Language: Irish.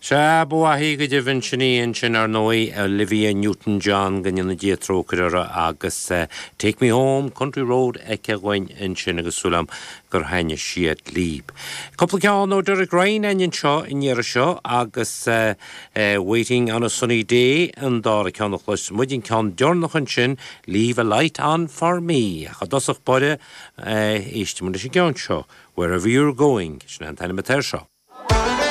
Sea, ba mhaith í go deimhin, sin í ansin ar ndóigh, Olivia Newton-John, go ndéana Dia trócaire uirthi, agus Take Me Home, Country Road aici dhúinn ansin agus súil agam gur thaitnigh siad libh. Cúpla ceann ó Derek Ryan againn anseo an iarraidh seo agus Waiting on a Sunny Day an dara ceann a chloisfidh muid, an ceann deireanach ansin, Leave a Light On For Me. Ach i dtosach báire, éistfidh muid leis an gceann seo, Wherever You're Going, sin é an t-ainm atá air seo.